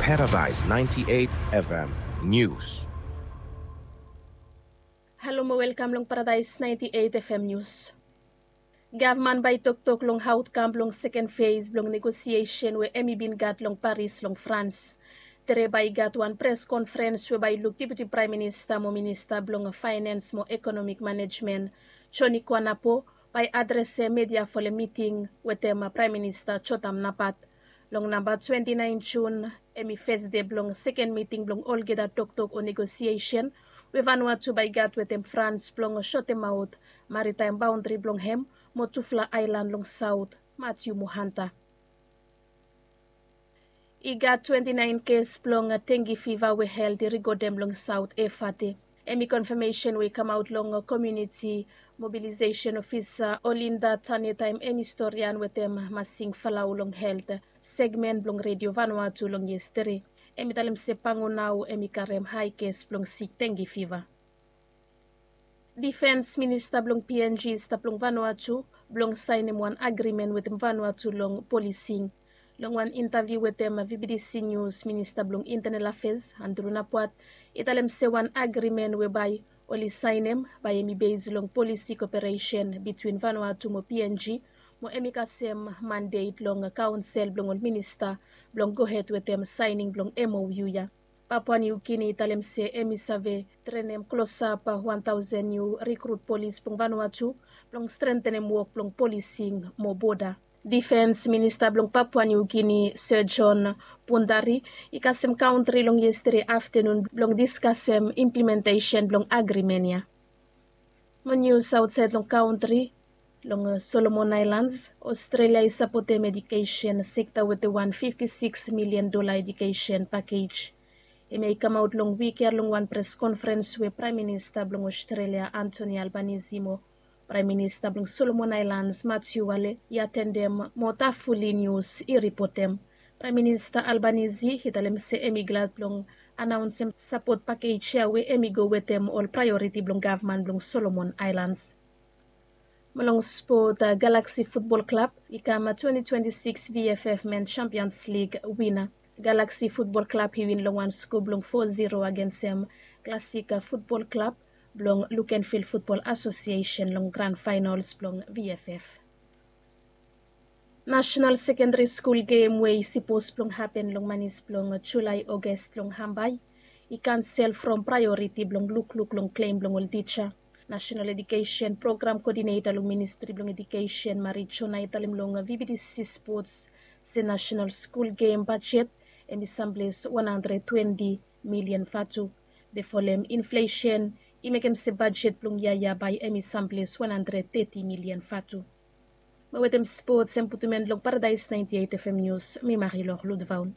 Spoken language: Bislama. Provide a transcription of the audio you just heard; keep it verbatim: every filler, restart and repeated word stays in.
Paradise ninety-eight F M News. Halo mo welkam long Paradise ninety-eight F M News. Gavman bae i toktok long aotkam blong seken fes blong negosiesen we hemi bin gat long Paris long Frans. Tere bae i gat wan pres konfrens we bae i luk Deputi Praem Minista mo Minista blong Faenens mo Ekonomik Manejmen, Joni Kuanapo, bae i adresem media folem miting wetem Praem Minista Jotam Napat. Long namba twenti naen Jun, hemi fes dei blong seken miting blong olgeta toktok o negosiesen we Vanuatu bae i gat wetem Frans blong sotemaot maritaem baondri blong hem mo tufala aelan long saot, Matiu mo Hanta. I gat twenti naen kes blong dengue fiva we helt i rikodem long Saot Efate. Hemi konfamesen we i kamaot long komuniti mobilisation ofisa Olinda Tane taem hemi storian wetem Masing Falau long helt segmen blong Redio Vanuatu long yestere. Hemi talem se Pango nao hemi karem hae kes blong sik dengue fiva. Difens Minista blong P N G i stap long Vanuatu blong saenem wan agrimen wetem Vanuatu long polising. Long wan intaviu wetem V B D C News, Minista blong Intenel Afes, Andrew Napuat, i talem se wan agrimen we bae oli saenem bae hemi bes long polisi koperesen bitwin Vanuatu mo P N G, mo hemi kasem mandet long kaonsel blong ol minista blong gohed wetem saening blong M O U ya. Papua New Guinea i talem se hemi save trenem klosap wan taosen niu rikrut polis blong Vanuatu blong strentenem wok blong polising mo boda. Difens Minista blong Papua New Guinea, Sir John Pundari, i kasem kaontri long yestere aftenun blong diskasem implementesen blong agrimen ya. Mo nius aotsaed long kaontri, long Solomon Aelans, Ostrelia i sapotem edukesen sekta wetem wan fifti sikis milian dola edukesen pakej. Hemia i kamaot long wik ya long wan pres konfrens we Praem Minista blong Ostrelia, Anthony Albanese, mo Praem Minista blong Solomon Aelans, Matthew Wale, i atendem mo Tafuli Nius i ripotem. Praem Minista Albanese i talem se hemi glad blong anaonsem sapot pakej ya we hemi go wetem ol praeoriti blong gavman blong Solomon Aelans. Mo long spot, Galaxy Futbol Klab i kam twenti twenti sikis V F F Men Champions League wina. Galaxy Futbol Klab i win long wan sko blong fo ziro agensem Klasika Futbol Klab blong Lukenville Futbol Asosiesen long gran faenols blong V F F. Nasenal Sekendari Skul gem we i sipos blong hapen long manis blong Julae, Oges long Hambai i kansel from praeoriti blong lukluk long klem blong ol tija. Nasenal Edukesen Program Kodineta long Ministri blong Edukesen, Marie Jona, i talem long V B D C Spots se nasenal skul gem bajet hemi samples wan handred twenti milian vatu. Be folem inflesen i mekem se bajet blong yia ya bae hemi samples wan handred teti milian vatu. Mo wetem spots, hemi putum en long Paradise ninety-eight F M News, mi Marilor Ludvaun.